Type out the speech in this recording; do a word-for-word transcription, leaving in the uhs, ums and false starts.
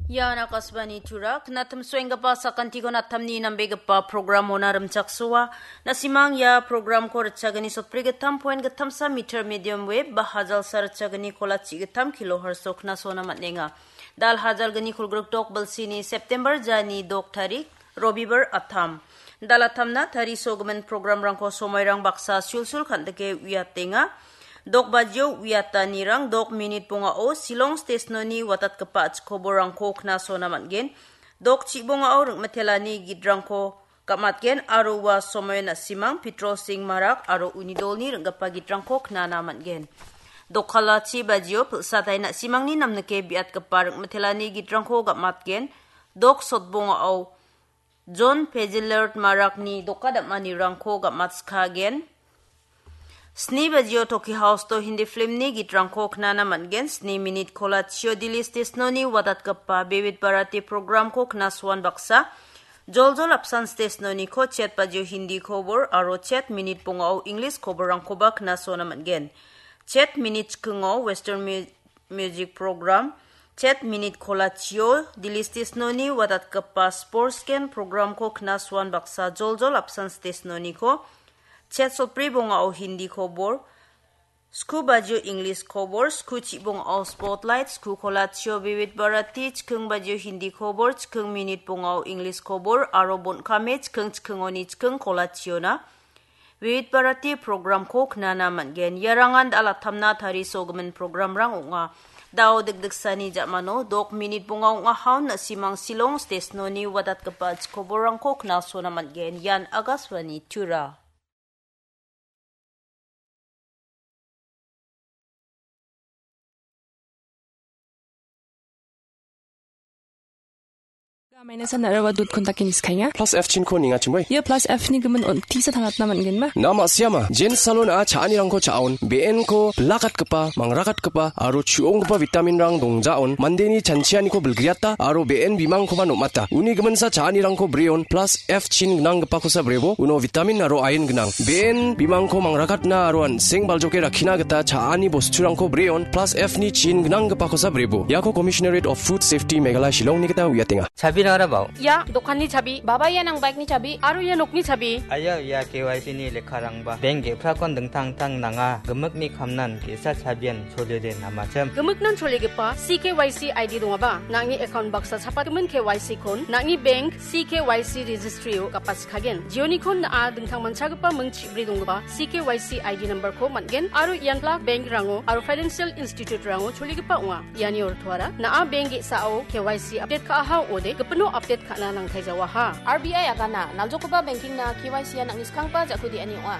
Ian Akashvani Tura, knatim suenggipa sakantikon atamni nambegipa programona rimchaksoa. Nasimang ia programko ritchagini sotbrigittam point gittamsa meter medium wave ba hajalsa ritchagini kolachi gittam kilohertz-o knasona man·enga. Dal hajalgni kolgrikdok bilsini September jani dok tarik, Robibar atam. Dal atamna tarisogimin programrangko somoirang baksa sulsul kan·dike uiatenga. Dok bajio uiatanirang dok minit bongao Shillong stesnoni watatgipa chikoborangko knasona man·gen. Dok chibongao ringmitelani gitrangko gam·atgen aro ua somoio na·simang Pitro Singh Marak aro uni dolni ring·gipa gitrangko knana man·gen. Dokkalachi bajio pilsatai na·simangni namnike biatgipa ring·mitelani gitrangko gam·atgen. Dok sotbongao John Pezilert Marakni doka dam·anirangko gam·atskagen. Sni bajio Toki House-o Hindi filmni gitrangko knana man·gen. Sni minit kolachio Dili stesnoni watatgipa Vividh Bharati programko knasoan baksa. Joljol apsan stesnoniko chet bajio Hindi kobor aro chet minit bongao English koborrangkoba knasona man·gen. Chet minit chikingo Western mu-, music program, chet minit kolachio Dili stesnoni watatgipa sports gen programko knasoan baksa joljol apsan stesnoniko chet sotbri bongao Hindi kobor, sku bajio English kobor, sku chibongao Spotlight, sku kolachio Vividh Bharati, chiking bajio Hindi kobor, chiking minit bongao English kobor, aro bon·kame chiking chikingoni chiking kolachiona Vividh Bharati programko knana man·gen. Iarangan dal atamna tarisogimin programrang ong·a. Dao dikdiksani ja·mano dok minit bonga ong·a haun na·simang Shillong stesnoni watatgipa chikoborrangko knasona man·gen. Ian Akashvani Tura. Mainasa naraba dot kontake niskaenga. Plus F chinko nengachimoi. Ia Plus F ni gimin on tisa tangatna man·genba? Na ma·siama. Jen salon a cha·anirangko cha·aon. B N ko bilakatgipa, mangrakatgipa, aro chu·onggipa vitamin rang dongjaon. Mandeni chanchianiko bilgriata, aro B N bimangkoba nom·ata. Uni giminsa cha·anirangko breon. Plus F chin gnanggipakosa brebo, uno vitamin aro ain gnang. B N bimangko mangrakatna aro an·seng baljoke rakkina gita cha·ani bosturangko breon, plus F ni chin gnanggipakosa brebo. Iako Commissionerate of Food Safety Meghalaya Shillongni gita uiatenga. Chabi rarabao. Ia dokanni chabi, baba ia nang bike-ni chabi, aro ia nokni chabi. Aya ia K Y C ni lekkarangba. Bank ge·prakon dingtang dingtang nanga. Gimikni kamnan ge·sa chabian choliode namachim. Gimiknan choligipa C K Y C I D dongaba, nang·ni account baksa chapatgimin K Y C kon, nang·ni bank C K Y C registry-o gapatskagen. Jionikon na·a dingtang manchagipa ming chibri donggipa C K Y C I D number-ko man·gen aro ian plak bank-rango aro financial institute-rango choligipa ong·a. Iani ortoara na·a bank ge·sao K Y C update ka·aha ong·ode, gipino update ka·na nangtai jawaha. R B I agana, naljokgipa banking-na K Y C-an nang·ni skanggipa ja·ku de·ani ong·a.